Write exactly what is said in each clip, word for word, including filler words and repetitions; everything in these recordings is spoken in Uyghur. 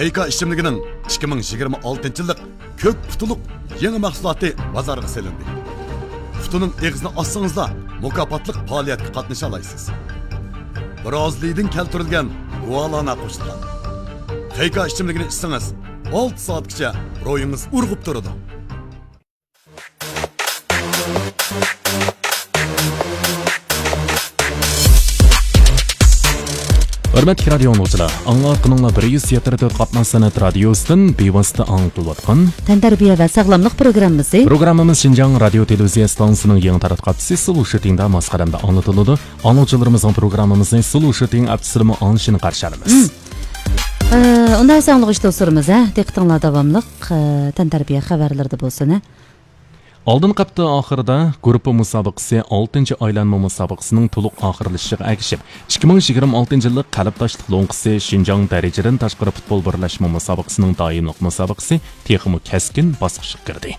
خېيكا ئىچىملىكىنىڭ ئىككى مىڭ يىگىرمە ئالتىنچى يىللىق كۆك پۇتۇلۇق يېڭى مەھسۇلاتى بازارغا سېلىندى. پۇتىنىڭ ئېغىزىنى ئاچسىڭىزلا، مۇكاپاتلىق پائالىيەتكە قاتنىشالايسىز. برازىلىيىدىن كەلتۈرۈلگەن گۇالانا قوشۇلغان. خېيكا ئىچىملىكىنى ئىچسىڭىز، ئالتە سائەتكىچە روھىڭىز ئۇرغۇپ تۇرىدۇ. ھۆرمەتلىك رادىيو ئاڭلىغۇچىلار، ئاڭلاۋاتقىنىڭلار بىر يۈز يەتتە تۆت قاتناش سەنئەت رادىيوسىدىن بىۋاسىتە ئاڭلىتىلىۋاتقان تەنتەربىيە ۋە ساغلاملىق پروگراممىسى. پروگراممىمىز شىنجاڭ رادىيو تېلېۋىزىيە ئىستانسىسىنىڭ يېڭى تاراتقۇ ئاپىسى سۇلۇشىتىڭدا ماس قەدەمدە ئاڭلىتىلىدۇ. ئاڭلىغۇچىلىرىمىزنىڭ پروگراممىمىزنى سۇلۇشىتىڭ ئاپىسىدىمۇ ئاڭلىشىنى قارشى ئالىمىز. مم. ئە، ئۇنداق بولسا ئاڭلىغۇچى دوستلىرىمىز، ھە، دىققىتىڭلار داۋاملىق، ئە، تەنتەربىيە خەۋەرلىرىدە بولسۇن، ھە. ئالدىنقى ھەپتە ئاخىرىدا گۇرۇپپا مۇسابىقىسى ئالتىنچى ئايلانما مۇسابىقىسىنىڭ تولۇق ئاخىرلىشىشىغا ئەگىشىپ، ئىككى مىڭ يىگىرمە ئالتىنچى يىللىق قەلبداشلىق لوڭقىسى شىنجاڭ دەرىجىدىن تاشقىرى پۇتبول بىرلەشمە مۇسابىقىسىنىڭ دائىملىق مۇسابىقىسى تېخىمۇ كەسكىن باسقۇچقا كىردى.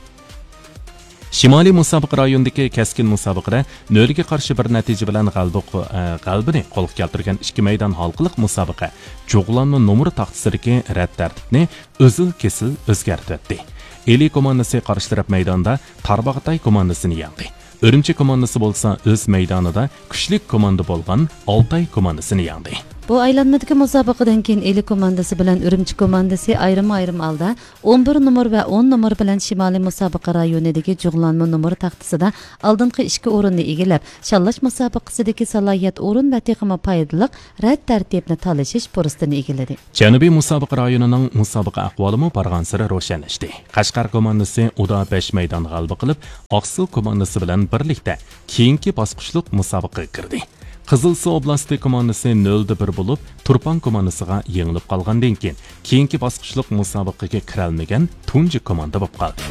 شىمالىي مۇسابىقە رايونىدىكى كەسكىن مۇسابىقىدە نۆلگە قارشى بىر نەتىجە بىلەن غەلىبە، ئە، غەلىبىنى قولغا كەلتۈرگەن ئىككى مەيدان ھالقىلىق مۇسابىقە جۇغلانما نومۇر تاختىسىدىكى رەت تەرتىپنى ئۈزۈل-كېسىل ئۆزگەرتىۋەتتى. ئىلى كوماندىسى قارشى تەرەپ مەيداندا تارباغاتاي كوماندىسىنى يەڭدى. ئۈرۈمچى كوماندىسى بولسا ئۆز مەيدانىدا كۈچلۈك كوماندا بولغان ئالتاي كوماندىسىنى يەڭدى. بۇ ئايلانمىدىكى مۇسابىقىدىن كېيىن ئىلى كوماندىسى بىلەن ئۈرۈمچى كوماندىسى ئايرىم-ئايرىم ھالدا ئون بىر نومۇر ۋە ئون نومۇر بىلەن شىمالىي مۇسابىقە رايونىدىكى جۇغلانما نومۇر تاختىسىدا ئالدىنقى ئىككى ئورۇننى ئىگىلەپ، شاللاش مۇسابىقىسىدىكى سالاھىيەت ئورۇن ۋە تېخىمۇ پايدىلىق رەت تەرتىپنى تالىشىش پۇرسىتىنى ئىگىلىدى. جەنۇبىي مۇسابىقە رايونىنىڭ مۇسابىقە ئەھۋالىمۇ بارغانسېرى روشەنلەشتى. قەشقەر كوماندىسى ئۇدا بەش مەيدان غەلىبە قىلىپ، ئاقسۇ كوماندىسى بىلەن بىرلىكتە كېيىنكى باسقۇچلۇق مۇسابىقىگە كىردى. قىزىلسۇ ئوبلاستى كوماندىسى نۆلدە بىر بولۇپ، تۇرپان كوماندىسىغا يېڭىلىپ قالغاندىن كېيىن، كېيىنكى باسقۇچلۇق مۇسابىقىگە كىرەلمىگەن تۇنجى كوماندا بولۇپ قالدى.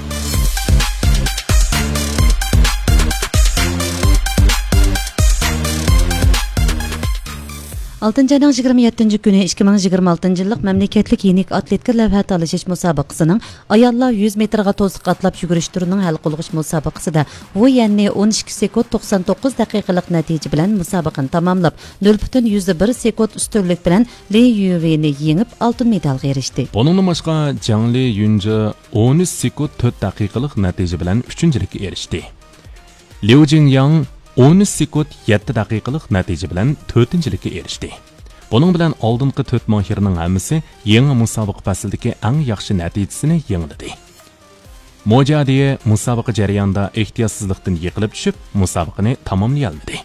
ئالتىنچى ئاينىڭ يىگىرمە يەتتىنچى كۈنى ئىككى مىڭ يىگىرمە ئالتىنچى يىللىق مەملىكەتلىك يېنىك ئاتلېتىكا لەۋھە تالىشىش مۇسابىقىسىنىڭ ئاياللار يۈز مېتىرغا توسۇق ئاتلاپ يۈگۈرۈش تۈرىنىڭ ھەل قىلغۇچ مۇسابىقىسىدە ۋۇ يەننى ئون ئىككى سېكۇنت توقسان توققۇز دەقىقىلىق نەتىجە بىلەن مۇسابىقىنى تاماملاپ، نۆل پۈتۈن يۈزدە بىر سېكۇنت ئۈستۈنلۈك بىلەن لى يۈۋېنى يېڭىپ، ئالتۇن مېدالغا ئېرىشتى. بۇنىڭدىن باشقا، جاڭ لى يۈنجې ئون ئۈچ سېكۇنت تۆت دەقىقىلىق نەتىجە بىلەن ئۈچىنچىلىككە ئېرىشتى. ليۇ جىڭياڭ ئون ئۈچ سېكۇنت يەتتە دەقىقىلىق نەتىجە بىلەن تۆتىنچىلىككە ئېرىشتى. بۇنىڭ بىلەن ئالدىنقى تۆت ماھىرنىڭ ھەممىسى يېڭى مۇسابىقە پەسلىدىكى ئەڭ ياخشى نەتىجىسىنى يېڭىلىدى. مو جيادې مۇسابىقە جەريانىدا ئېھتىياتسىزلىقتىن يىقىلىپ چۈشۈپ، مۇسابىقىنى تاماملىيالمىدى.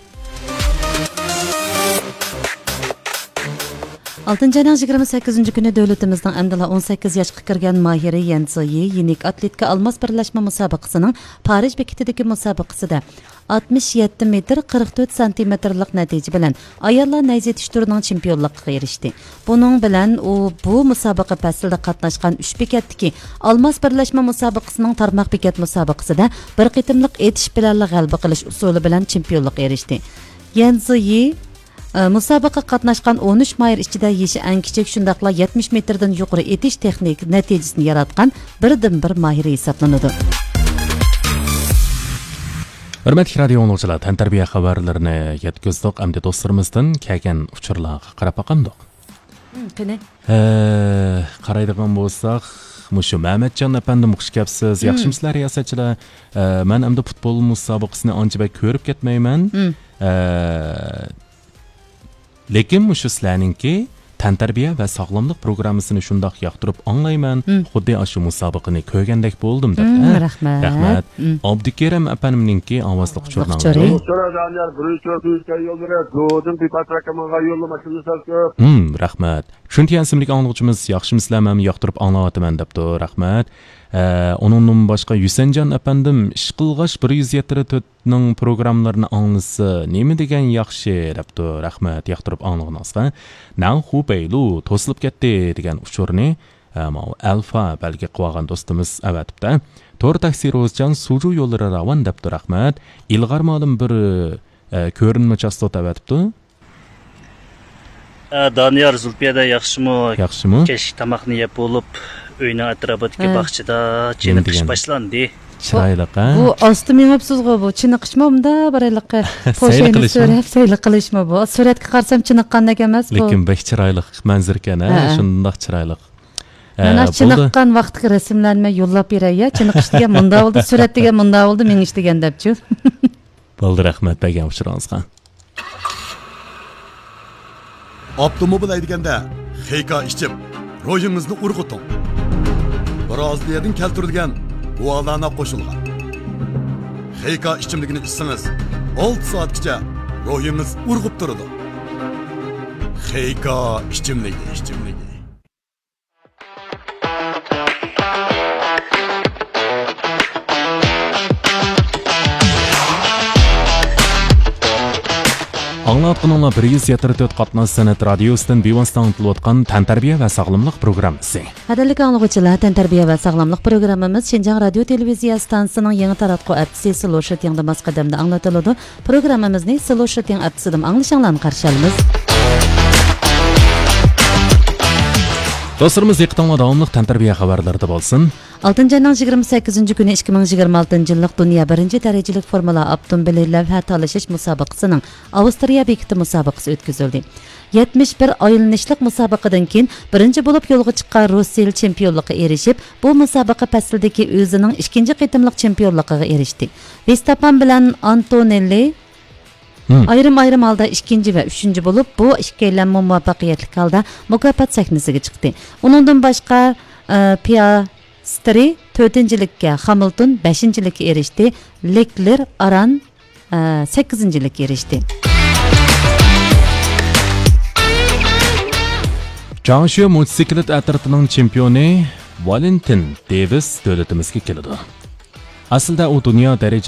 ئالتىنچى ئاينىڭ يىگىرمە سەككىزىنچى كۈنى دۆلىتىمىزنىڭ ئەمدىلا ئون سەككىز ياشقا كىرگەن ماھىرى يەن زېيى يېنىك ئاتلېتىكا ئالماس بىرلەشمە مۇسابىقىسىنىڭ پارىژ بېكىتىدىكى مۇسابىقىسىدە ئاتمىش يەتتە مېتىر قىرىق تۆت سانتىمېتىرلىق نەتىجە بىلەن ئاياللار نەيزە ئېتىش تۈرىنىڭ چېمپىيونلۇقىغا ئېرىشتى. بۇنىڭ بىلەن ئۇ بۇ مۇسابىقە پەسلىدە قاتناشقان ئۈچ بېكەتتىكى ئالماس بىرلەشمە مۇسابىقىسىنىڭ تارماق بېكەت مۇسابىقىسىدە بىر قېتىملىق ئېتىش بىلەنلا غەلىبە قىلىش ئۇسۇلى بىلەن چېمپىيونلۇققا ئېرىشتى. يەن زېيى، ئە، مۇسابىقىگە قاتناشقان ئون ئۈچ ماھىر ئىچىدە يېشى ئەڭ كىچىك، شۇنداقلا يەتمىش مېتىردىن يۇقىرى ئېتىش تېخنىكا نەتىجىسىنى ياراتقان بىردىنبىر ماھىرى ھېسابلىنىدۇ. ھۆرمەتلىك رادىيو ئاڭلىغۇچىلار، تەنتەربىيە خەۋەرلىرىنى يەتكۈزدۇق. ئەمدى دوستلىرىمىزدىن كەلگەن ئۇچۇرلارغا قاراپ باقامدۇق؟ مم، قېنى؟ ھە، قارايدىغان بولساق، مۇشۇ مەمەتجان ئەپەندىم، خۇش كەپسىز. مم. ياخشىمۇسىلەر رىياسەتچىلەر؟ ھە، مەن ئەمدى پۇتبول مۇسابىقىسىنى ئانچە بەك كۆرۈپ كەتمەيمەن. مم. ھە، لېكىن مۇشۇ سىلەرنىڭكى تەنتەربىيە ۋە ساغلاملىق پروگراممىسىنى شۇنداق ياقتۇرۇپ ئاڭلايمەن، مم. خۇددى ئاشۇ مۇسابىقىنى كۆرگەندەك بولدۇم، دەپتۇ. مم، ھە؟ رەھمەت. رەھمەت. مم. ئابدۇكېرىم ئەپەندىمنىڭكى ئاۋازلىق ئۇچۇرىنى ئاڭلايلى. ئۇچۇرى دانىيار، بىرىنچى تۈركىيە يوللىرى زودىن بىپات رەقەمغا يوللىما شۇنى سەل كۆپ. مم، رەھمەت. شۇنتيەن ئىسىملىك ئاڭلىغۇچىمىز ياخشىمۇسىلەر، مەنمۇ ياقتۇرۇپ ئاڭلاۋاتىمەن، دەپتۇ. رەھمەت. ئە، ئۇنىڭدىن باشقا ھۈسەنجان ئەپەندىم، ئىشقىلغاچ بىر يۈز يەتتە تۆت نىڭ پروگراممىلىرىنى ئاڭلىسا نېمە دېگەن ياخشى، دەپتۇ. رەھمەت، ياقتۇرۇپ ئاڭلىغىنىڭىزغا. نەنخۇ بەيلۇ توسۇلۇپ كەتتى دېگەن ئۇچۇرنى، ئە، ماۋۇ ئەلفا بەلگە قىلىۋالغان دوستىمىز ئەۋەتىپتۇ. تور تاكسى روزىجان سۇجۇ يوللىرى راۋان، دەپتۇ. رەھمەت. ئىلغار مالىم بىر، ئە، كۆرۈنمە چاستوتا ئەۋەتىپتۇ. ئە، دانىيار، زۇلپىيەدە ياخشىمۇ؟ ياخشىمۇ؟ كەچلىك تاماقنى يەپ بولۇپ، ئۆينىڭ ئەتراپىدىكى ھە. باغچىدا نېمە چېنىقىش دېگەن؟ باشلاندى. چىرايلىق، ھە؟ بۇ ئاستا مېڭىپسىزغۇ، بۇ چېنىقىشمۇ مۇنداق بىر ھېلىقى سەيلە پوشەينى قىلىشمۇ؟ سۆرەپ سەيلە قىلىشمۇ بۇ؟ سۈرەتكە قارىسام چېنىققاندەك ئەمەس بۇ. لېكىن بەك چىرايلىق مەنزىرىكەن، ھە؟ ھە. شۇنداق چىرايلىق. مانا، ھە، بولدى. چېنىققان ۋاقىتتىكى رەسىملەرنى يوللاپ بېرەي، يا. چېنىقىش دېگەن مۇنداق بولدى، سۈرەت دېگەن مۇنداق بولدى، مېڭىش دېگەن دەپچۇ. بولدى، رەھمەت بەرگەن ئۇچۇرىڭىزغا. ئاپتوموبىل ھەيدىگەندە خېيكا ئىچىپ، روھىڭىزنى ئۇرغۇتۇڭ. برازىلىيەدىن كەلتۈرۈلگەن گۇالانا قوشۇلغان خېيكا ئىچىملىكىنى ئىچسىڭىز، ئالتە سائەتكىچە روھىڭىز ئۇرغۇپ تۇرىدۇ. خېيكا ئىچىملىكى، ئىچىملىكى. ئاڭلاۋاتقىنىڭلار بىر يۈز يەتتە تۆت قاتناش سەنئەت رادىيوسىدىن بىۋاسىتە ئاڭلىتىلىۋاتقان تەنتەربىيە ۋە ساغلاملىق پروگراممىسى. قەدىرلىك ئاڭلىغۇچىلار، تەنتەربىيە ۋە ساغلاملىق پروگراممىمىز شىنجاڭ رادىيو تېلېۋىزىيە ئىستانسىسىنىڭ يېڭى تاراتقۇ ئەپسى سلو شىتىڭدا ماس قەدەمدە ئاڭلىتىلىدۇ. پروگراممىمىزنى سلو شىتىڭ ئەپسىدىمۇ ئاڭلىشىڭلارنى قارشى ئالىمىز. دوستلىرىمىز، دىققىتىڭلار داۋاملىق تەنتەربىيە خەۋەرلىرىدە بولسۇن. ئالتىنچى ئاينىڭ يىگىرمە سەككىزىنچى كۈنى ئىككى مىڭ يىگىرمە ئالتىنچى يىللىق دۇنيا بىرىنچى دەرىجىلىك فورمۇلا ئاپتوموبىلى لەۋھە تالىشىش مۇسابىقىسىنىڭ ئاۋسترىيە بېكىتى مۇسابىقىسى ئۆتكۈزۈلدى. يەتمىش بىر ئايلىنىشلىق مۇسابىقىدىن كېيىن بىرىنچى بولۇپ يولغا چىققان روسىيىلى چېمپىيونلۇققا ئېرىشىپ، بۇ مۇسابىقە پەسلىدىكى ئۆزىنىڭ ئىككىنچى قېتىملىق چېمپىيونلۇقىغا ئېرىشتى. ۋېستاپان بىلەن ئانتونېللى ھىم. ئايرىم-ئايرىم ھالدا ئىككىنچى ۋە ئۈچىنچى بولۇپ، بۇ ئىككىيلەنمۇ مۇۋەپپەقىيەتلىك ھالدا مۇكاپات سەھنىسىگە چىقتى. ئۇنىڭدىن باشقا، ئە، پىياسترى تۆتىنچىلىككە، خامىلتون بەشىنچىلىككە ئېرىشتى، لېكلېر، ئاران، ئە، سەككىزىنچىلىككە ئېرىشتى. جاڭشيو موتوسىكلىت ئەترىتىنىڭ چېمپىيونى ۋالېنتىن دېۋىس دۆلىتىمىزگە كېلىدۇ. ئەسلىدە ئۇ دۇنيا دەرىجە